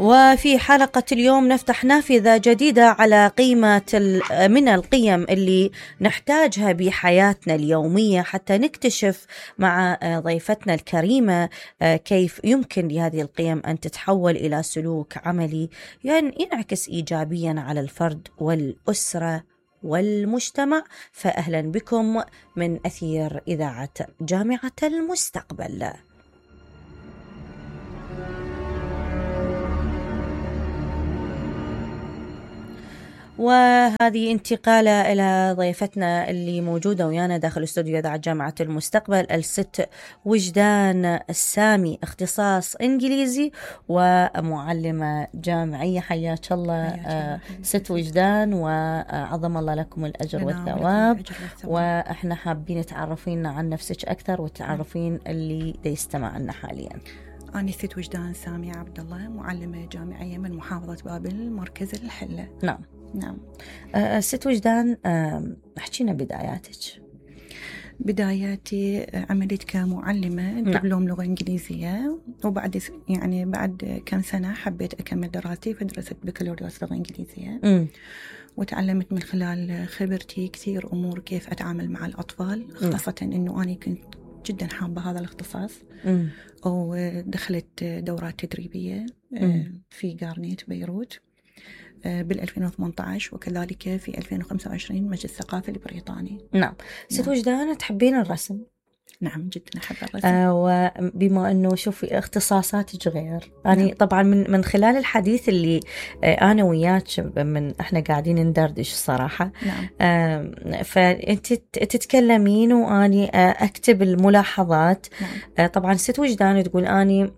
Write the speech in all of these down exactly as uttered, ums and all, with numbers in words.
وفي حلقة اليوم نفتح نافذة جديدة على قيمة من القيم اللي نحتاجها بحياتنا اليومية حتى نكتشف مع ضيفتنا الكريمة كيف يمكن لهذه القيم أن تتحول إلى سلوك عملي يعني ينعكس إيجابيا على الفرد والأسرة والمجتمع. فأهلا بكم من أثير إذاعة جامعة المستقبل. وهذه انتقالة إلى ضيفتنا اللي موجودة ويانا داخل استوديو إذاعة جامعة المستقبل، الست وجدان السامي، اختصاص إنجليزي ومعلمة جامعية. حياك الله آه ست وجدان، وعظم الله لكم الأجر والثواب. وإحنا حابين تعرفين عن نفسك أكثر وتعرفين اللي دا يستمع لنا حاليا. أنا ست وجدان سامي عبد الله، معلمة جامعية من محافظة بابل، مركز الحلة. نعم نعم. أه ست وجدان، أه احكينا بداياتك. بداياتي عملت كمعلمة دبلوم لغة إنجليزية، وبعد يعني بعد كم سنة حبيت أكمل دراستي فدرست بكالوريوس لغة إنجليزية. م. وتعلمت من خلال خبرتي كثير أمور كيف أتعامل مع الأطفال، خاصة إنه أنا كنت جدا حابة هذا الاختصاص. م. ودخلت دورات تدريبية م. في غارنيت بيروت بال ألفين وثمانية عشر، وكذلك في ألفين وخمسة وعشرين مجلس الثقافة البريطاني. نعم. ست وجدان، تحبين الرسم؟ نعم جدا أحب الرسم. آه وبما أنه شوفي اختصاصاتك غير، يعني نعم. طبعا من من خلال الحديث اللي آه أنا وياك من إحنا قاعدين ندردش الصراحة. نعم. آه فأنت تتكلمين وأني آه أكتب الملاحظات. نعم. آه طبعا ست وجدان تقول أني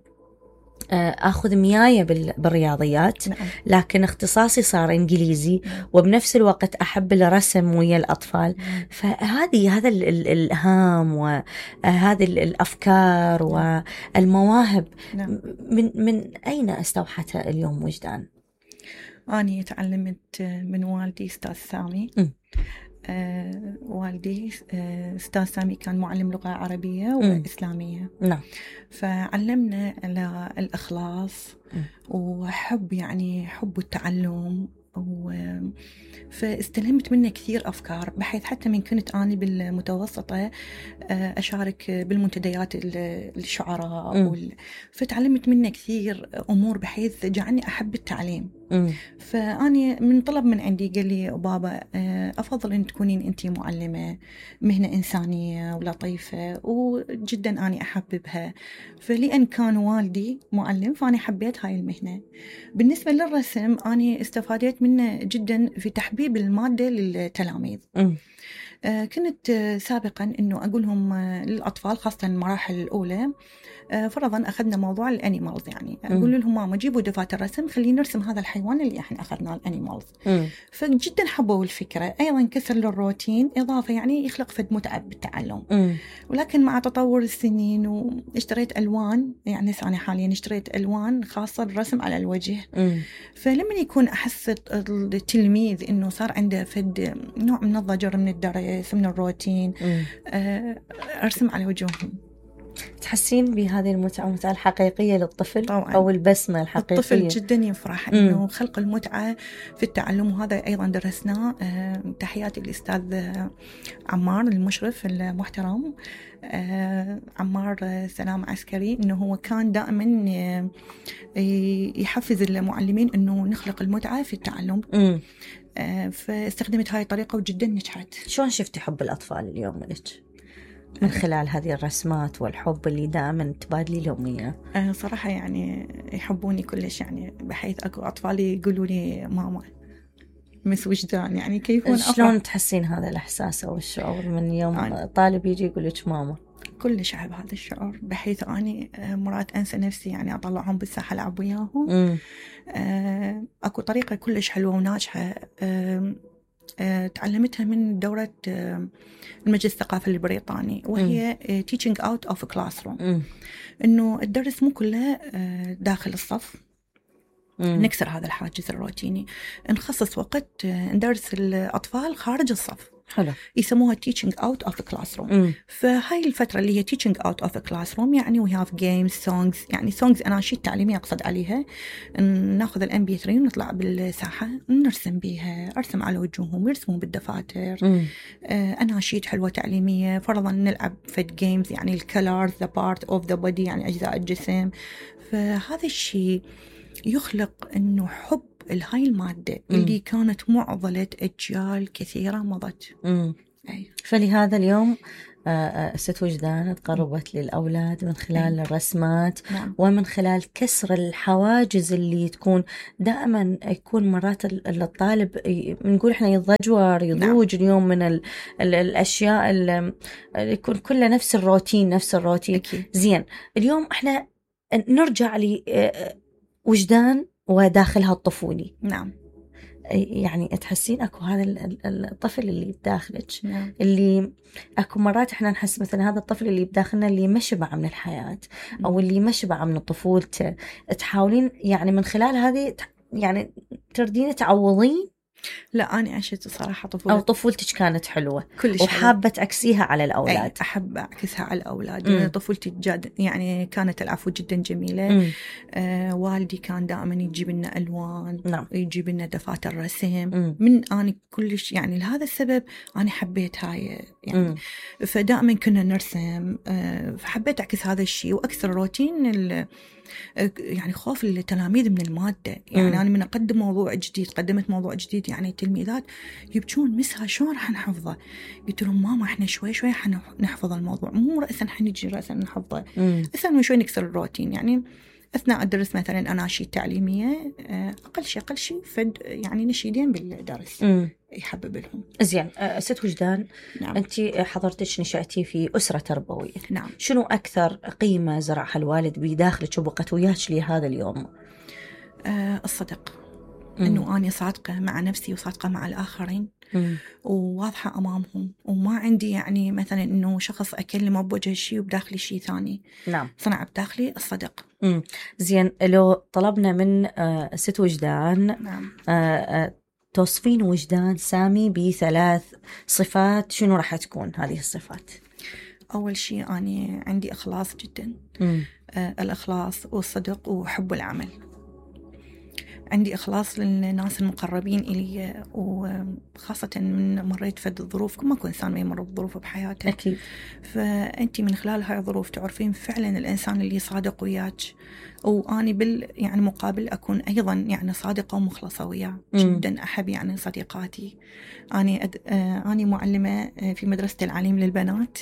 أخذ مياية بالرياضيات. نعم. لكن اختصاصي صار إنجليزي. نعم. وبنفس الوقت أحب الرسم ويا الأطفال. نعم. فهذه هذا الإلهام وهذه الأفكار نعم. والمواهب نعم. من من أين استوحتها اليوم وجدان؟ أنا تعلمت من والدي أستاذ سامي. م. آه والدي آه أستاذ سامي كان معلم لغة عربية وإسلامية. نعم. فعلمنا على الإخلاص م. وحب يعني حب التعلم، فاستلمت منه كثير أفكار، بحيث حتى من كنت أنا بالمتوسطة أشارك بالمنتديات الشعراء وال... فتعلمت منه كثير أمور بحيث جعلني أحب التعليم. م. فأنا من طلب من عندي قال لي بابا أفضل أن تكونين أنت معلمة، مهنة إنسانية ولطيفة وجدا أنا أحببها، فلأن كان والدي معلم فأنا حبيت هاي المهنة. بالنسبة للرسم أنا استفادت منه جدا في تحبيب المادة للتلاميذ. م. آه كنت آه سابقا أنه أقولهم آه للأطفال خاصة المراحل الأولى، آه فرضا أخذنا موضوع الأنيمالز، يعني أقول لهم ماما جيبوا دفاتر رسم خلينا نرسم هذا الحيوان اللي احنا أخذناه الأنيمالز. فجدا حبوا الفكرة، أيضا كسر للروتين، إضافة يعني يخلق فد متعة بالتعلم. م. ولكن مع تطور السنين واشتريت ألوان، يعني أنا حاليا اشتريت ألوان خاصة بالرسم على الوجه. م. فلما يكون أحس التلميذ إنه صار عنده فد نوع من الضجر من الدرس من الروتين، آه أرسم على وجههم. تحسين بهذه المتعة، المتعة الحقيقية للطفل طبعاً. أو البسمة الحقيقية؟ الطفل جدا يفرح إنه خلق المتعة في التعلم، وهذا أيضا درسناه. أه تحياتي للأستاذ عمار المشرف المحترم، أه عمار سلام عسكري، إنه هو كان دائما يحفز المعلمين إنه نخلق المتعة في التعلم. أه فاستخدمت هاي الطريقة وجدا نجحت. شلون شفتي حب الأطفال اليوم لك من خلال هذه الرسمات والحب اللي دائما تبادلي لهم إياه؟ أه صراحة يعني يحبوني كلش، يعني بحيث أكو أطفالي يقولوا لي ماما مس وجدان، يعني كيف شلون تحسين هذا الإحساس أو الشعور من يوم أنا طالب يجي يقول لك ماما؟ كلش أحب هذا الشعور، بحيث أني مرات أنسى نفسي، يعني أطلعهم بالساحة ألعب وياهم. أه أكو طريقة كلش حلوة وناجحة أه أه تعلمتها من دورة أه المجلس الثقافي البريطاني، وهي م. teaching out of classroom. م. إنه الدرس مو كله أه داخل الصف. م. نكسر هذا الحاجز الروتيني، نخصص وقت أه ندرس الأطفال خارج الصف. حلو. يسموها teaching out of the classroom. م. فهاي الفترة اللي هي teaching out of the classroom يعني we have games, songs. يعني songs أناشيد تعليمية أقصد عليها. ناخذ الام بي ثري ونطلع بالساحة نرسم بيها، أرسم على وجوههم ويرسمون بالدفاتر. م. آه أناشيد حلوة تعليمية. فرضا نلعب فد games يعني الكلر the part of the body يعني أجزاء الجسم. فهذا الشيء يخلق إنه حب الهاي المادة م. اللي كانت معضلة أجيال كثيرة مضت. أي. فلهذا اليوم ست وجدان تقربت للأولاد من خلال أي. الرسمات. نعم. ومن خلال كسر الحواجز اللي تكون دائما يكون مرات الطالب نقول احنا يتضجر يضوج. نعم. اليوم من ال ال الأشياء اللي يكون كلها نفس الروتين نفس الروتين. أكيد. زين اليوم احنا نرجع لوجدان وداخلها الطفولي. نعم. يعني تحسين اكو هذا الطفل اللي بداخلك. نعم. اللي اكو مرات احنا نحس مثلا هذا الطفل اللي بداخلنا اللي ما شبع من الحياة او اللي ما شبع من طفولته، تحاولين يعني من خلال هذه يعني تردين تعوضين؟ لا أنا عشت صراحة طفولة أو طفولتك كانت حلوة كلش وحابة تعكسيها على الأولاد. أحب أعكسها على الأولاد. طفولتي جاد يعني كانت العفو جدا جميلة. آه والدي كان دائما يجيب لنا ألوان. نعم. يجيب لنا دفاتر رسم. مم. من أنا كلش يعني لهذا السبب أنا حبيت هاي يعني. مم. فدائما كنا نرسم. آه فحبيت أعكس هذا الشيء وأكثر روتين يعني خوف التلاميذ من المادة. يعني م. أنا من أقدم موضوع جديد قدمت موضوع جديد يعني التلميذات يبكون مسها شلون راح نحفظه؟ قلت لهم ماما إحنا شوي شوي حنحفظ الموضوع مو رأسا حنجي رأسا نحفظه. أسأل من شوي نكسر الروتين. يعني أثناء الدرس مثلا أناشيد تعليمية أقل شيء أقل شيء فد يعني نشيدين بالدرس. م. يحبب لهم. زين ست وجدان. نعم. أنت حضرتش نشأتي في أسرة تربوية. نعم. شنو أكثر قيمة زرعها الوالد بداخلك وبقت وياك لهذا اليوم؟ أه الصدق. م. إنه أنا صادقة مع نفسي وصادقة مع الآخرين. م. وواضحة أمامهم وما عندي يعني مثلا إنه شخص أكلمه بوجه شيء وبداخلي شيء ثاني. نعم. صنع بداخلي الصدق. م. زين لو طلبنا من آه ست وجدان. نعم. آه آه توصفين وجدان سامي بثلاث صفات، شنو راح تكون هذه الصفات؟ أول شيء أنا عندي إخلاص جدا. آه الإخلاص والصدق وحب العمل. عندي إخلاص للناس المقربين إلي وخاصة من مريت فد الظروف كما كل إنسان ما يمر بظروف بحياته. أكيد. فأنت من خلال هاي الظروف تعرفين فعلا الإنسان اللي صادق وياك وأني بال يعني مقابل أكون أيضا يعني صادقة ومخلصة وياه. جدا أحب يعني صديقاتي. أنا أد... آه أنا معلمة في مدرسة العليم للبنات.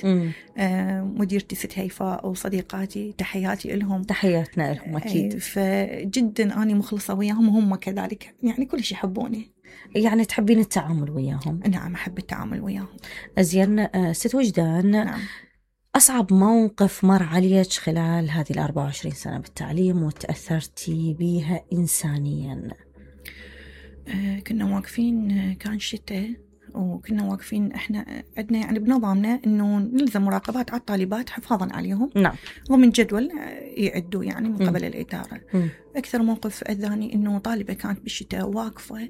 آه مديرتي ست هيفاء وصديقاتي تحياتي لهم. تحياتنا لهم أكيد. آه فجدا أنا مخلصة وياهم وهم كذلك يعني كلش يحبوني. يعني تحبين التعامل وياهم؟ نعم أحب التعامل وياهم. أزين ست وجدان. نعم. أصعب موقف مر عليك خلال هذه الأربع وعشرين سنة بالتعليم وتأثرتي بيها إنسانيا؟ آه كنا واقفين كان شتاء وكنا واقفين إحنا عندنا يعني بنظامنا إنه نلزم مراقبات على الطالبات حفاظا عليهم. نعم. ومن جدول يعدوا يعني من قبل م. الإدارة. م. أكثر موقف أذاني إنه طالبة كانت بالشتاء واقفة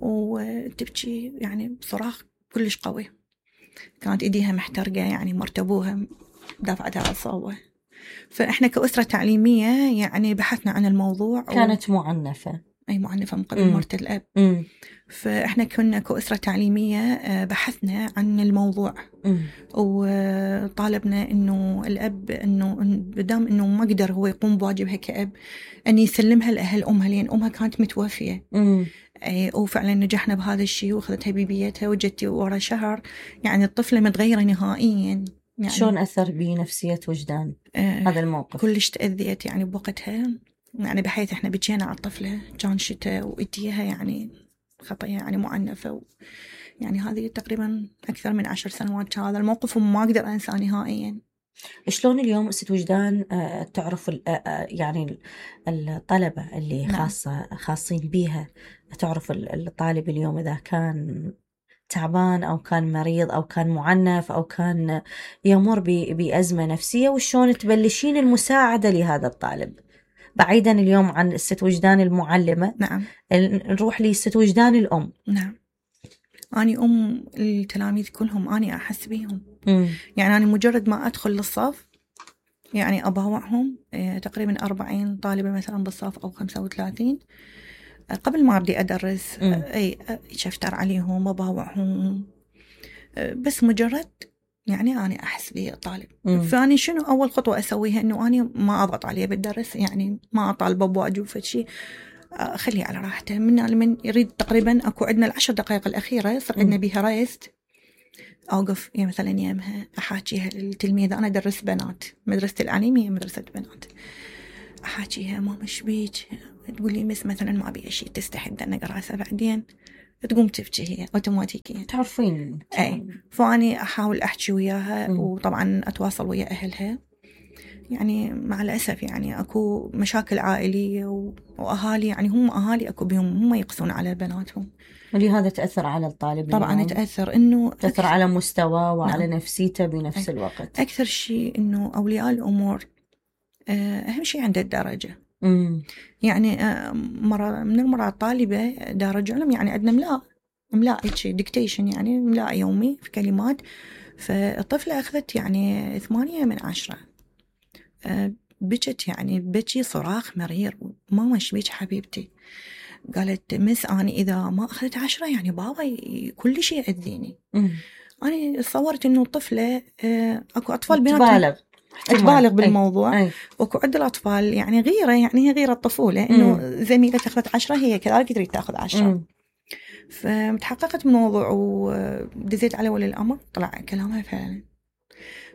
وتبكي يعني بصراخ كلش قوي. كانت إيديها محترقة يعني مرتبوها دافعتها على الصوبة. فإحنا كأسرة تعليمية يعني بحثنا عن الموضوع. كانت و... معنفة. أي معنفة من قبل مرت الأب. م. فإحنا كنا كأسرة تعليمية بحثنا عن الموضوع. م. وطالبنا إنه الأب إنه بدام إنه ما قدر هو يقوم بواجبها كأب أن يسلمها لأهل أمها لأن أمها كانت متوفية. م. وفعلا نجحنا بهذا الشيء وأخذتها ببيتها وجدتي ورا شهر يعني الطفلة متغيرة نهائيا. يعني شلون أثر بنفسية وجدان آه هذا الموقف؟ كلش تأذيت يعني بوقتها يعني بحيث إحنا بجينا على الطفلة كان شتاء وإديها يعني خطية يعني معنفة و يعني هذه تقريبا أكثر من عشر سنوات هذا الموقف وما أقدر أنسى نهائيا. شلون اليوم ست وجدان تعرف يعني الطلبة اللي خاصة خاصين بيها تعرف الطالب اليوم إذا كان تعبان أو كان مريض أو كان معنف أو كان يمر بأزمة نفسية وشلون تبلشين المساعدة لهذا الطالب بعيدا اليوم عن الست وجدان المعلمة؟ نعم. نروح لست وجدان الأم. نعم. أنا أم التلاميذ كلهم، أنا أحس بيهم. مم. يعني أنا مجرد ما أدخل للصف يعني أباوعهم، تقريبا أربعين طالبة مثلا بالصف أو خمسة وثلاثين، قبل ما أبدي أدرس مم. أي شفتر عليهم أباوعهم، بس مجرد يعني أنا أحس بي الطالب. فأني شنو أول خطوة أسويها؟ إنه أنا ما أضغط عليه بالدرس، يعني ما أطالبه بواجب فشي، أخليه على راحته. من من يريد تقريبا أكو عندنا العشر دقائق الأخيرة يصير عندنا بيها رايست، أوقف يعني مثلا يمها أحاكيها للتلميذة. أنا أدرس بنات، مدرسة العليم هي مدرسة بنات، أحاكيها ماما شبيك؟ تقول لي مس مثلا ما أبي شيء، تستحي أن أقرأ، بعدين تقوم تبكي هي أوتوماتيكيا، تعرفين. أي فأني أحاول أحكي وياها، وطبعا أتواصل ويا أهلها. يعني مع الأسف يعني أكو مشاكل عائلية وأهالي، يعني هم أهالي أكو بهم هم يقسون على بناتهم، ولهذا تأثر على الطالب. طبعا تأثر إنه تأثر على مستواه وعلى نعم. نفسيته بنفس الوقت. أكثر شيء إنه أولياء الأمور أهم شيء عند الدرجة. مم. يعني مرة من المرات طالبة درجة علم، يعني عندنا ملاء ملاء ديكتيشن، يعني ملاء يومي في كلمات، فالطفلة أخذت يعني ثمانية من عشرة، بكت يعني بكي صراخ مرير، ماما شبيك حبيبتي؟ قالت مس أنا إذا ما أخذت عشرة يعني بابا كل شيء يأذيني. أنا صورت إنه الطفلة أكو أطفال بنات تبالغ تبالغ بالموضوع، أي. وأكو عند الأطفال يعني غيرة، يعني هي غيرة الطفولة، إنه زميلة أخذت عشرة هي كذلك تريد تأخذ عشرة. مم. فمتحققت من الموضوع ودزيت على ولي الأمر، طلع كلامها فعلا.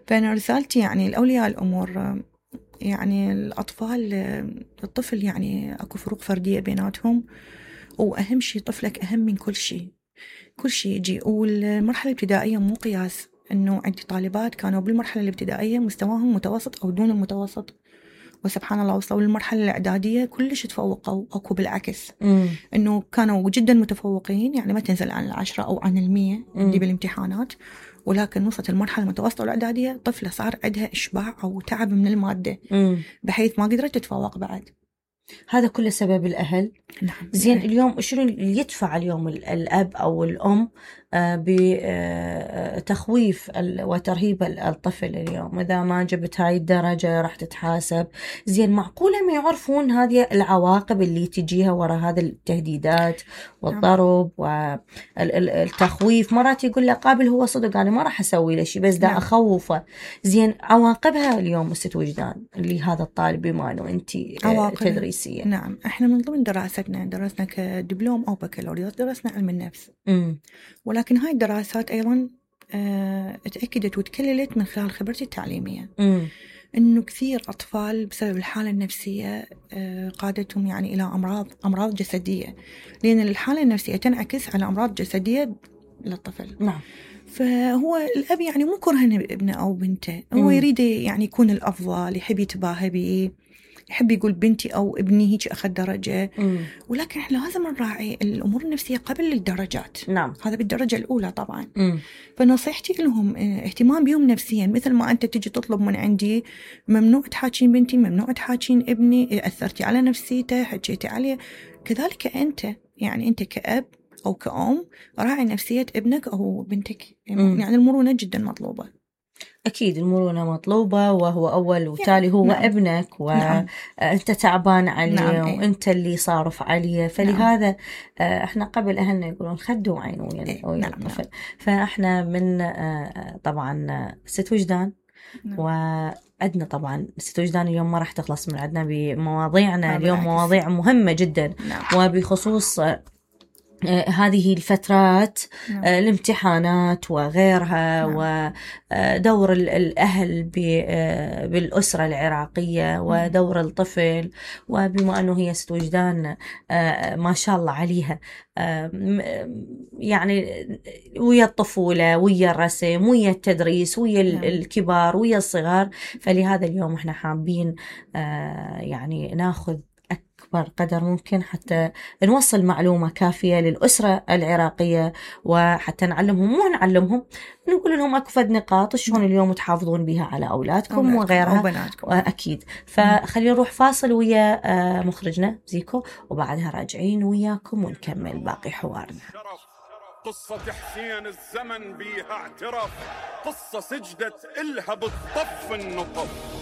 فأنا رسالتي يعني لأولياء الأمور، يعني الأطفال الطفل يعني أكو فروق فردية بيناتهم، وأهم شيء طفلك أهم من كل شيء، كل شيء يجي. والمرحلة الابتدائية مو قياس، إنه عندي طالبات كانوا بالمرحلة الابتدائية مستواهم متوسط أو دون المتوسط، وسبحان الله وصلوا للمرحلة الإعدادية كلش تفوقوا، أكو بالعكس مم. إنه كانوا جدا متفوقين، يعني ما تنزل عن العشرة أو عن المية عندي بالامتحانات، ولكن وصلت المرحلة المتوسطة والإعدادية طفلة صار عندها إشباع أو تعب من المادة، مم. بحيث ما قدرت تتفوق بعد. هذا كله سبب الأهل. نعم. زين يعني اليوم شنو اللي يدفع اليوم الأب أو الأم بتخويف وترهيب الطفل اليوم؟ إذا ما جبت هاي الدرجة راح تتحاسب. زين معقولة ما يعرفون هذه العواقب اللي تجيها وراء هذه التهديدات والضرب والتخويف؟ مرات يقول له قابل هو صدق أنا ما راح أسوي له شيء بس دا أخوفه. زين عواقبها اليوم ست وجدان اللي هذا الطالب بما أنه أنت تدريسية. نعم احنا من ضمن دراستنا درسنا كدبلوم أو بكالوريوس درسنا علم النفس، م. ولكن هاي الدراسات أيضا اه اتأكدت وتكللت من خلال خبرتي التعليمية، م. إنه كثير أطفال بسبب الحالة النفسية اه قادتهم يعني إلى أمراض أمراض جسدية، لأن الحالة النفسية تنعكس على أمراض جسدية للطفل. نعم. فهو الأب يعني مو كرهن ابنه أو بنته، هو م. يريد يعني يكون الأفضل، يحب يتباهى به، يحب يقول بنتي أو ابني هيك أخذ درجة، مم. ولكن إحنا لازم نراعي الأمور النفسية قبل الدرجات. نعم. هذا بالدرجة الأولى طبعا. مم. فنصيحتي لهم اهتمام بهم نفسيا، مثل ما أنت تجي تطلب من عندي ممنوع تحاكين بنتي، ممنوع تحاكين ابني، أثرتي على نفسيته، حكيتي عليه، كذلك أنت يعني أنت كأب أو كأم راعي نفسية ابنك أو بنتك. مم. يعني المرونة جدا مطلوبة. أكيد المرونة مطلوبة، وهو أول وتالي هو نعم. ابنك وأنت نعم. تعبان عليه نعم. وأنت اللي صارف عليه، فلهذا نعم. إحنا قبل أهلنا يقولون خدوا عين ويا الطفل. نعم. فإحنا من طبعا ست وجدان نعم. وعندنا طبعا ست وجدان اليوم ما راح تخلص من عندنا بمواضيعنا اليوم، مواضيع مهمة جدا نعم. وبخصوص هذه الفترات نعم. الامتحانات وغيرها نعم. ودور الأهل بالأسرة العراقية ودور الطفل، وبما أنه هي ست وجدان ما شاء الله عليها يعني ويا الطفولة ويا الرسم ويا التدريس ويا نعم. الكبار ويا الصغار، فلهذا اليوم احنا حابين يعني ناخذ أكبر قدر ممكن حتى نوصل معلومة كافية للأسرة العراقية، وحتى نعلمهم مو نعلمهم نقول لهم أكو فد نقاط شلون اليوم تحافظون بها على أولادكم وغيرها أكيد. فخلينا نروح فاصل ويا مخرجنا زيكو، وبعدها راجعين وياكم ونكمل باقي حوارنا. قصة حسين الزمن بيها اعترف، قصة سجدت إلها بالطف النطف.